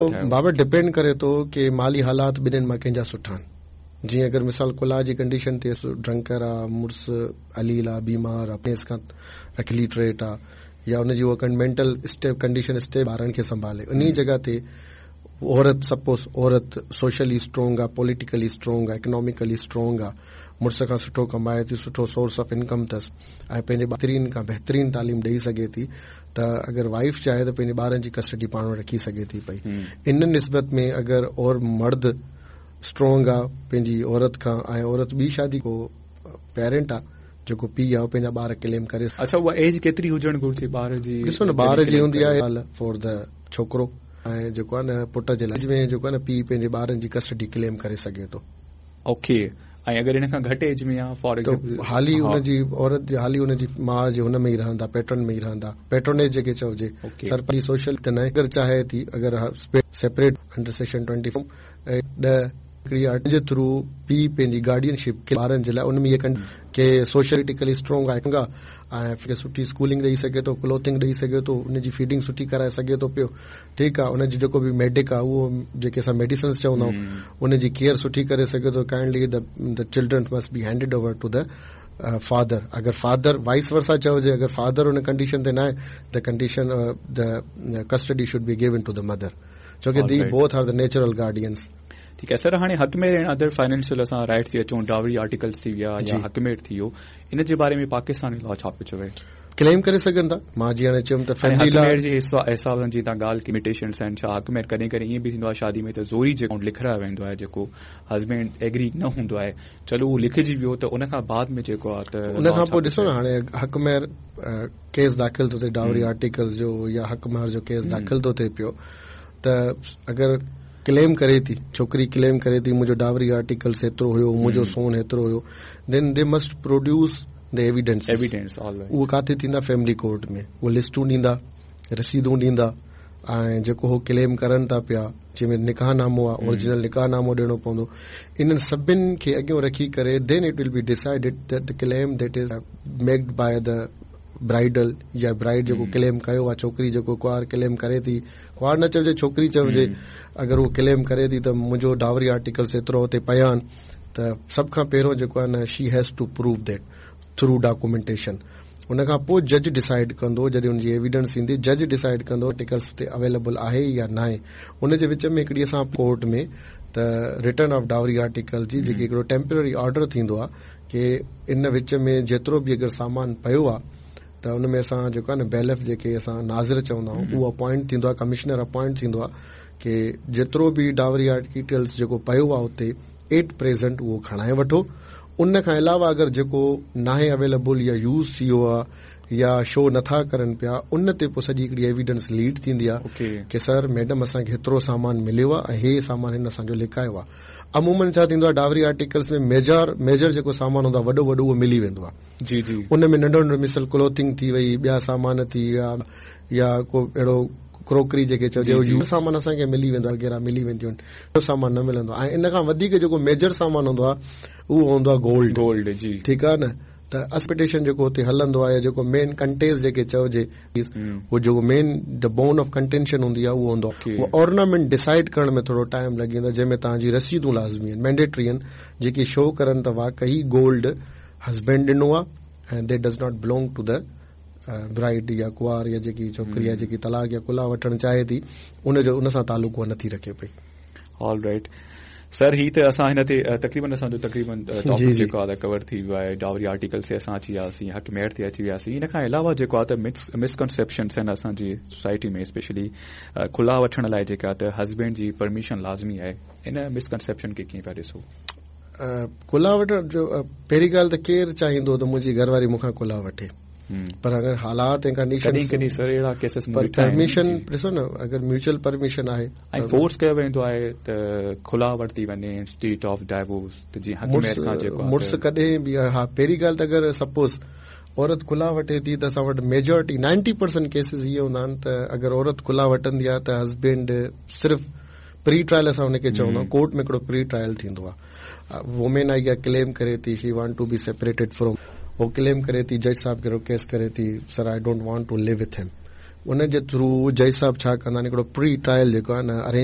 بابا ڊپينڊ ڪري ٿو ڪي مالي حالات ٻنهين مان ڪنهن جا سٺا آهن. جيئن اگر مثال خلع جي ڪنڊيشن ٿئي ڊرنڪر آ، مڙس عليل آ، بيمار آ، پيس کان الٽريٽ آ يا ان جي اها مينٽل اسٽيب ڪنڊيشن اسٽيب ٻارن کي سنڀالي انهي جڳهه تي عورت سپوز عورت سوشلي اسٽرانگ آ، پوليٽيڪلي اسٽرانگ آ، اڪناميڪلي اسٽرانگ آ، مڙس کان سٺو ڪمائي ٿي، سٺو سورس آف انڪم اٿس ۽ پنهنجي بهترين کان بهترين تعليم ڏئي سگهي ٿي ته اگر وائيف چاهي ته پنهنجي ٻارن جي ڪسٽڊي پاڻ وٽ رکي سگهي ٿي پئي. ان نسبت ۾ اگر اور مرد اسٽرانگ آ پنهنجي عورت کان ۽ عورت ٻي شادي ڪو پيرنٽ آ جيڪو پيء آ اهو پنهنجا ٻار ڪليم ڪري. اڇا اها ايج ڪيتري هجڻ گهرجي ٻار جي ڏسو نه ٻار جي هوندي آهي فار the ڇوڪرو ۽ جيڪو آ نه پٽ جي لاء ۾ جيڪو آ نه پيء پنهنجي ٻارن جي ڪسٽڊي ڪليم ڪري سگهي ٿو. اوڪي ۽ اگر ان کان گهٽ ايج ۾ آ فار ايگزامپل حالي ان جي عورت جي حالي ان جي ماء جي هن ۾ ئي رهندا پيٽرن ۾ ئي رهندا پيٽرنيج جيڪي چئجي سرپري سوشل ته نه اگر چاهي ٿي اگر سيپريٽ انڊر سيڪشن 24 ۽ 10 هڪڙي آرٽ جي ٿرو پيء پنهنجي گارڊين شپ ٻارن جي لاء ان ۾ اهي ڪي سوشلٽيڪلي اسٽرانگ آهي ۽ کي سٺي اسڪولنگ ڏئي سگهي ٿو ڪلوٿنگ ڏئي سگهي ٿو ان جي فيڊنگ سٺي ڪرائي سگهي ٿو پيو ٺيڪ آ ان جو جيڪو به ميڊڪ آ اهو جيڪي اسان ميڊيسنس چوندا آهيون ان جي ڪيئر سٺي ڪري سگهي ٿو kindly the children must be handed over to the father اگر فادر وائس ورسا چئجي اگر فادر ان ڪنڊيشن تي ناهي the condition the custody should be given to the mother ڇو ڪي the both are the natural guardians. ٺيڪ آهي سر هاڻي حق مهر ۽ ادر فائنينشل اسان رائٽس تي اچون ڊاوري آرٽيڪلس ٿي ويا يا حق مهر ٿي ويو ان جي باري ۾ پاڪستاني لا ڇا پيو چوي؟ ڪليم ڪري سگهن ٿا. مان جيئن هاڻي چيم ته فيملي لا. حق مهر جي حساب سان جيئن توهان ڳالهه ڪئي لميٽيشنس آهن ڇا حق مهر ڪڏهن ڪڏهن ائين به ٿيندو آهي شادي ۾ ته زوري جيڪو لکرايو ويندو آهي جيڪو هسبينڊ ايگري نه هوندو آهي چلو اهو لکجي ويو ته ان کان بعد ۾ جيڪو آهي ته ان کان پوء ڏسو نه هاڻي حق مهر ڪيس داخل ٿو ٿئي ڊاوري آرٽيڪلز جو يا حق مهر جو ڪيس داخل ٿو ٿئي پيو ته اگر ڪليم ڪري ٿي ڇوڪري ڪليم ڪري ٿي منهنجو ڊاوري آرٽيڪلس هيترو هيو منهنجو سون هيترو هيو then the must produce the evidence evidence اهو ڪاٿي ٿيندا فيملي ڪورٽ ۾ اهي لسٽون ڏيندا رسيدون ڏيندا ۽ جيڪو هو ڪليم ڪرن ٿا پيا جنهن ۾ نڪاح نامو آهي اورجنل نڪاح نامو ڏيڻو پوندو انهن سڀن کي اڳيون رکي ڪري then it will be decided that the claim that is made by the bridal يا برائيڊ جيڪو ڪليم ڪيو آهي ڇوڪري جيڪو ڪنوار ڪليم ڪري ٿي ڪنوار نه چئجي ڇوڪري چئجي اگر هو ڪليم ڪري ٿي ته منهنجو ڊاوري آرٽيڪلس ايترو هتي پيا آهن ته سڀ کان پهريون جيڪو آهي نه she has to prove that through documentation ان کان پوء جج ڊسائيڊ ڪندو جڏهن ان جي ايويڊنس ايندي جج ڊسائيڊ ڪندو آرٽيڪلس هتي اويليبل آهي يا ناهي ان جي وچ ۾ هڪڙي اسان ڪورٽ ۾ ته رٽن آف ڊاوري آرٽيڪل جي جيڪي هڪڙو ٽيمپرري آرڊر ٿيندو آهي ڪي ان وچ ۾ جيترو به اگر سامان پيو آهي ته ان ۾ اسان جيڪو آهي نه بيلف جيڪي اسان ناظر چوندا آهيون اهو اپوائنٽ ٿيندو آهي ڪمشنر اپوائنٽ ٿيندو آهي ڪي جيترو به ڊاوري آرٽيڪلس جيڪو پيو آهي اتي ايٽ پريزنٽ اهو کڻائي وٺو ان کان علاوه اگر جيڪو ناهي اويليبل يا يوز ٿي ويو آهي يا شو نٿا ڪرن پيا ان تي پوء سڄي هڪڙي ايويڊنس ليڊ ٿيندي آهي ڪي سر ميڊم اسان کي هيترو سامان مليو آهي ۽ هي سامان هن اسان جو لڪايو آهي عمومن ڇا ٿيندو آهي ڊاوري آرٽيڪلس ۾ ميجر ميجر جيڪو سامان هوندو آهي وڏو وڏو اهو ملي ويندو آهي جي جي ان ۾ ننڍو ننڍو مثل ڪلوٿنگ ٿي وئي ٻيا سامان ٿي ويا يا ڪو اهڙو ڪروڪري جيڪي چئجي اهو سامان اسان کي ملي ويندو آهي وغيره ملي وينديون آهن اهو سامان نه ملندو آهي ۽ ان کان وڌيڪ جيڪو ميجر سامان هوندو آهي اهو هوندو آهي گولڊ گولڊ جي ٺيڪ آهي نه ته اصل جيڪو اتي هلندو آهي يا جيڪو مين ڪنٽيز جيڪي چئجي اهو جيڪو main the bone of contention هوندي آهي اهو هوندو آهي اهو اورنامينٽ ڊسائيڊ ڪرڻ ۾ ٿورو ٽائيم لڳي ويندو آهي جنهن ۾ توهان جي رسيدون لازمي آهن مينڊيٽري آهن جيڪي شو ڪرن ته واقعي گولڊ هسبينڊ ڏنو آهي ۽ that does not belong to the bride يا ڪنوار يا جيڪي ڇوڪري آهي جيڪي طلاق يا خلع وٺڻ چاهي ٿي ان جو ان سان تعلق اها نٿي رکي پئي. آل رائيٽ سر هي ته اسان هن تي تقريبن اسان جو تقريبن ٽاپڪ جيڪو آهي ڪور ٿي ويو آهي ڊاوري آرٽيڪل تي اسان اچي وياسين حق مهر تي اچي وياسين ان کان علاوه جيڪو آهي ته مسڪنسيپشنس آهن اسان جي سوسائٽي ۾ اسپيشلي خلع وٺڻ لاء جيڪا ته هسبينڊ جي پرميشن لازمي آهي ان مسڪنسيپشن کي ڪيئن پيا ڏسو؟ خلع وٺڻ جو پهرين ڳالهه ته ڪير چاهيندو ته منهنجي گهر واري مون کان خلع وٺي پر اگر حالات ۽ ڪنڊيشن ڪڏهن ڪڏهن سر اهڙا ڪيسز مون ڏٺا آهن پرميشن ڏسو نه اگر ميوچل پرميشن آهي ۽ فورس ڪيو ويندو آهي ته خلع ورتي وڃي انسٽيڊ آف ڊائيورس ته جيئن حق مهر کان جيڪو مڙس ڪڏهن به ها پهرين ڳالهه ته اگر سپوز عورت خلع وٺي ٿي ته اسان وٽ ميجورٽي 90% ڪيسز اهي هوندا آهن ته اگر عورت خلع وٺندي آهي ته هسبينڊ صرف پري ٽرائل اسان ان کي چوندا آهيون ڪورٽ ۾ هڪڙو پري ٽرائل ٿيندو آهي وومين آئي اها ڪليم ڪري ٿي she want to be separated from هو ڪليم ڪري ٿي جج صاحب کي رڪويسٽ ڪري ٿي sir I don't want to live with him ان جي ٿرو جج صاحب ڇا ڪندا آهن، هڪڙو پري ٽرائل جيڪو آهي نه ارينج